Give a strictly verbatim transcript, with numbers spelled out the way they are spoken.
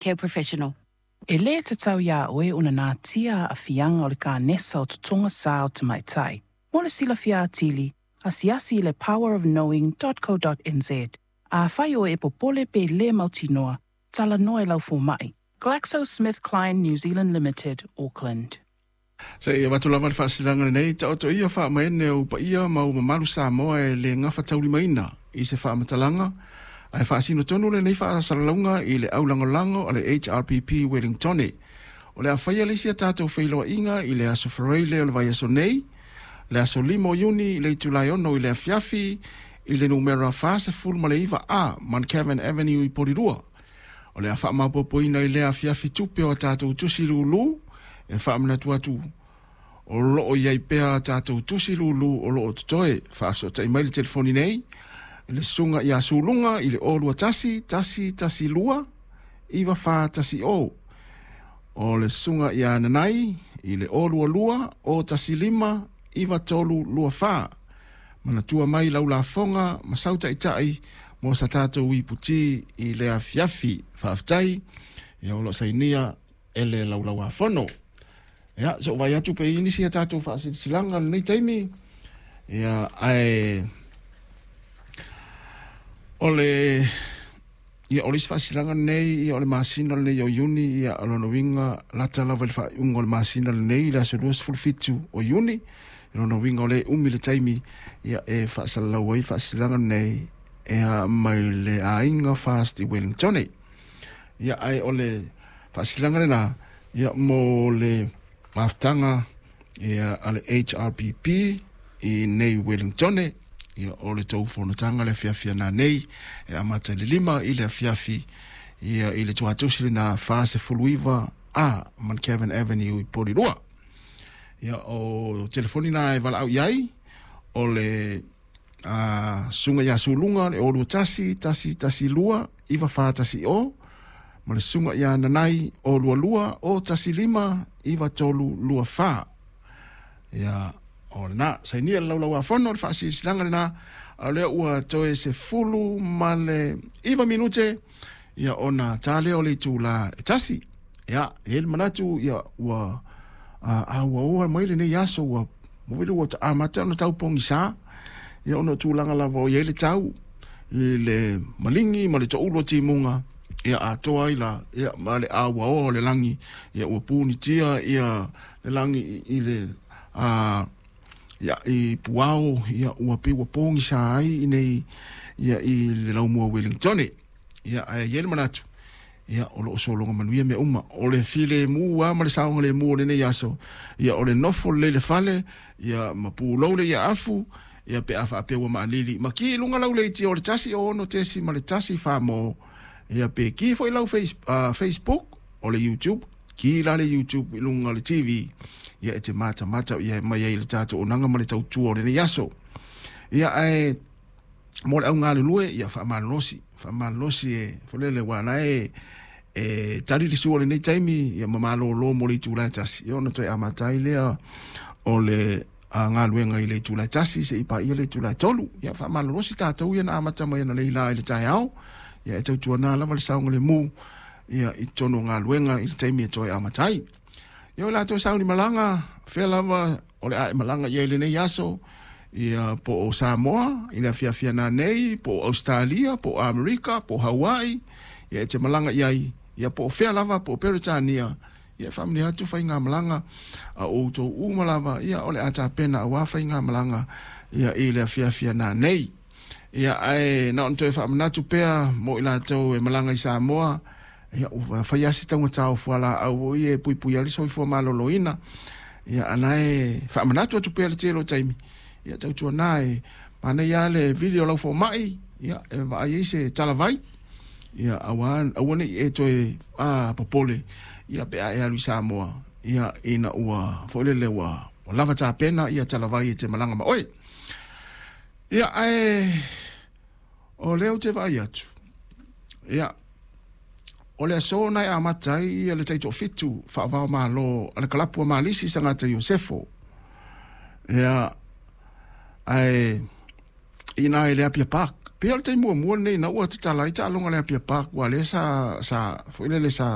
Care professional. E lē tatau iā oe ona natia aafiaga o le kanesa o totoga sā o tamaitai. Mo le silafia atili, asiasi i le power of knowing dot co dot nz. Afai oe e popole pe lē mautinoa, talanoa i lau fomaʻi. GlaxoSmithKline New Zealand Limited, Auckland. Se i avatu lava le faasilasilaga lenei, taoto ia faamaene o paia ma ua mamalu Samoa e le gafataulimaina i se faamatalaga, ae faasino tonu lenei faasalalauga i le aulagolago a le H R P P Wellingtone. O le a faia le isi a tatou feiloaiga i le aso Faraile o le vaiaso nei, le aso lima o Iuni i le itula e ono i le afiafi i le numera fasefulu ma le iva A, Mount Cavan Avenue i Porirua. O le a faamaopoopoina i le afiafi tupe o a tatou tusi lūlū, e faamanatu atu o loo iai pea a tatou tusi lūlū o loo totoe. Faasotai mai le telefoni nei, le susuga ia Suluga i le o lua tasi, tasi, tasi lua, iwa fa tasi o. O le susuga ia Nanai i le o lua lua, o tasi lima, iwa tolu lua fa. Manatua mai lau lafoga ma sau taitai mo sa tatou iputi i le afiafi. Faafetai, ia o loo sainia e le laulauafono. Ia, so vai atu pe nisi a tatou faasilasilaga lenei taimi. Ia, ae o le ia o le isi faasilasilaga lenei, ia o le masina lenei o Iuni, ia o lona uiga lata lava i le faaiuga o le masina lenei i le aso luasefulu fitu o Iuni. I lona uiga o le umi le taimi, ia e faasalalau ai le faasilasilaga lenei e mai le aiga Fast i Wellington. Ia, ae o le faasilasilaga lena, ia mo le mafutaga ia a le H R P P i nei Wellington. Ia o le tou fonotaga le afiafi ana nei, e amata i le lima i le afiafi, ia i le tuatusi lena fasefulu iva A, Mount Cavan Avenue i Porirua. Ia o telefoni na e valaau iai, o le a, susuga ia Suluga le o lua tasi, tasi, tasi lua, iwa fa tasi o, ma le susuga ia Nanai o lua lua, o tasi lima, iwa tolu lua fa. Ia, o lena, sainia le laulauafono, le faasilasilaga lena, a o lea ua toe sefulu ma le iwa minute, ia ona tā lea o le itula e tasi. Ia, e i ai le manatu, ia, ua, a, a ua oa mai lenei aso, ua, ua vili ua amata ona tau pogisa, ia ona o tulaga lava o i ai le tau, i le maligi ma le toulu o timuga, ia atoa ai la, ia ma le auaoa o le lagi, ia ua punitia, ia le lagi i, i le, a, ia, i puao, ia ua pei ua pogisa ai i nei, ia i le laumua Wellington. Ia, ae i ai le manatu, ia o loo sologa manuia mea uma. O le filemu lava ma le saogalemu o lenei aso, ia o le nofo lelei le fale, ia ma pulou le ia afu, ia pe a faapea ua maalili. Ma ki i luga lau leiti o le tasi o ono tesi ma le tasi wha mo, ia pe ki foi lau face, uh, Facebook, o le YouTube, ki la le YouTube i luga o le T V, ia e te mata mata ia mai ai le tatou onaga ma le tautua o lenei aso. Ia ae mo le au galulue, ia faamalolosi, faamalolosi e folele ua na e, e tali le sua o lenei taimi, ia ma malolo mo le itula e tasi. Ia ona toe amata ai lea o le a galuega i le itula e tasi, se i paia le itula e tolu. Ia faamalolosi tatou ia na amata mai ana leila i le taeao, ia e tautuana lava le saogalemu, ia i totonu o galuega i le taimi e toe amata ai. Ia o latou sauni malaga, fea lava o le a e malaga ia i lenei aso, ia po o Samoa, i le afiafi ana nei, po o Australia, po o Amerika, po o Hawaii, ia e te malaga iai, ia po o fea lava, po o Peretania, ia faamanuia atu faiga malaga a outou uma lava, ia o le a tapena aua faiga malaga, ia i le afiafi ana nei. Ia ae na ona toe faamanatu pea mo i latou e malaga i Samoa, ia ua fai asi taugata o fualaau ia e puipui ai le soifua maloloina. Ia ana e faamanatu atu pea le tele o taimi, ia tautuana e manaia le video lau fomai, ia e vaai ai se talavai, ia aua, aua nei e toe, a, popole, ia pe a e alu i Samoa, ia ina ua foi lele ua, ua lava tapena, ia talavai e te malaga ma oe. Ia ae o lea ou te vaai atu, ia o le aso na e amata ai ia le taitoafitu faavao malo a le kalapu a Malisi Sagata Iosefo. Ia ae ina e le Apia Park. Pei o le taimi muamua lenei ina ua tatala ai taaloga le Apia Park, ua lea sa, sa, foi lele sa